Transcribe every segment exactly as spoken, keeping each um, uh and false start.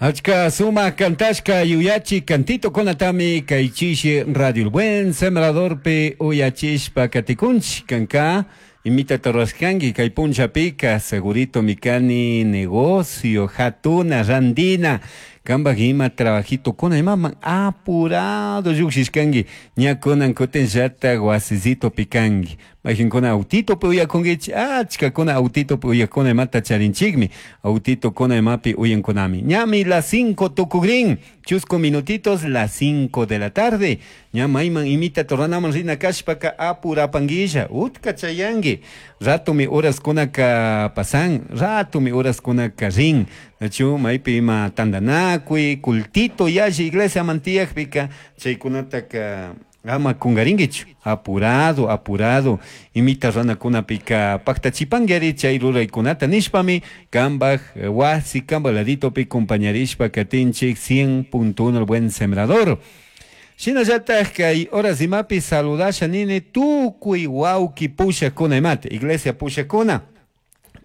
Achka sumak kantashka yuyachi kantito kunatami kay chishi Radio El Buen Sembradorpi uyachishpa katikunchik kanka imita rurashkanki kay punllapika segurito mikani negocio hatuna randina kambak ima trabajito kuna imaman apurado llukshishkanki ña kunan kutinllatak wasisitopi kanki mayqinkuna autitopi uyakunkichik achkakuna autitopi uyakuna imata charinchikmi autitokuna imapi uyankunami ñami las cinco tukukrin chusku minutitos las cinco de la tarde ña mayman imita ruranaman rina kashpaka apurapankilla utka chayanki ratumi horaskunaka pasan ratumi horaskunaka rin nachu maypi ima tantanakuy cultito yalli iglesiaman tiyakpika chaykunataka ama kunkarinkichu apurado apurado imita runakunapika paktachipanki chay ruraykunata nishpami kambak wasi kambak laditopi compañarishpa katinchik cien punto uno El Buen Sembrador. Shinallatak kay horas imapi saludasha nini tukuy wawki pushakuna imata iglesia pushakuna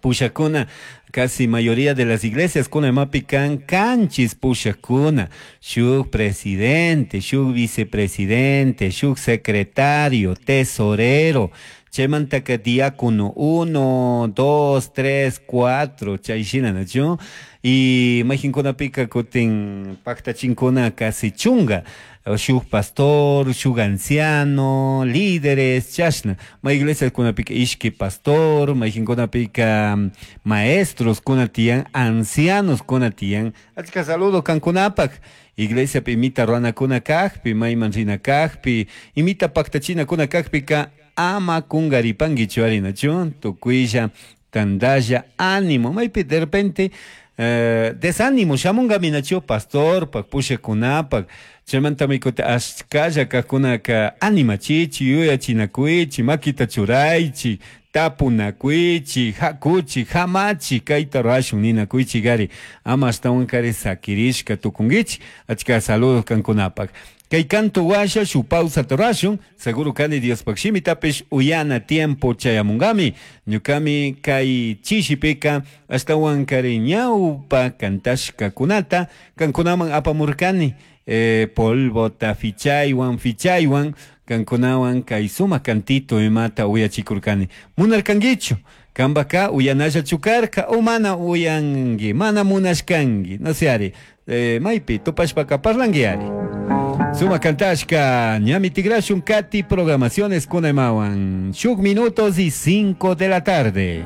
pushakuna casi mayoría de las iglesias kuna imapi kan kanchis pushakuna shuk presidente shuk vicepresidente shuk secretario tesorero chaymantaka diácono uno dos tres cuatro chay shina nachu y mayqinkunapika kutin paktachinkuna casi chunga shuk pastor shuk anciano líderes chashna may iglesiakunapika ishki pastor mayqinkunapika maestros kuna tiyan ancianos kuna tiyan achka saludo kankunapak iglesiapi imita ruranakuna kakpi mayman rina kakpi imita paktachinakuna kakpika ama kunkaripankichu ari nachu tukuylla tantalla ánimo maypi de repente eh, desánimo shamunkami nachu pastorpak pushakunapak chaymantami kutin ashkalla kajkunaka animachichik yuyachinakuychik makita churaychik tapunakuychik hakuchik hamachik kayta rurashun ninakuychik ari ama ashtawankari sakirishka tukunkichik achka saludos kankunapak kay canto washa shuk pausata rurashun seguro kani Diospak shimitapish uyana tiempo chayamunkami ñukami kay chishipika ashtawankari ñawpa kantashkakunata kankunaman apamurkani eh, polvota fichaywan fichaywan kankunawan kay sumak kantito imata uyachikurkani munarkankichu kambaka uyanallachu karka o mana uyanki mana munashkanki no sé ari eh, maypi tupashpaka parlanki ari Suma kantashka ñami tigrashun kati programaciones kunaymawan shuk minutos y cinco de la tarde.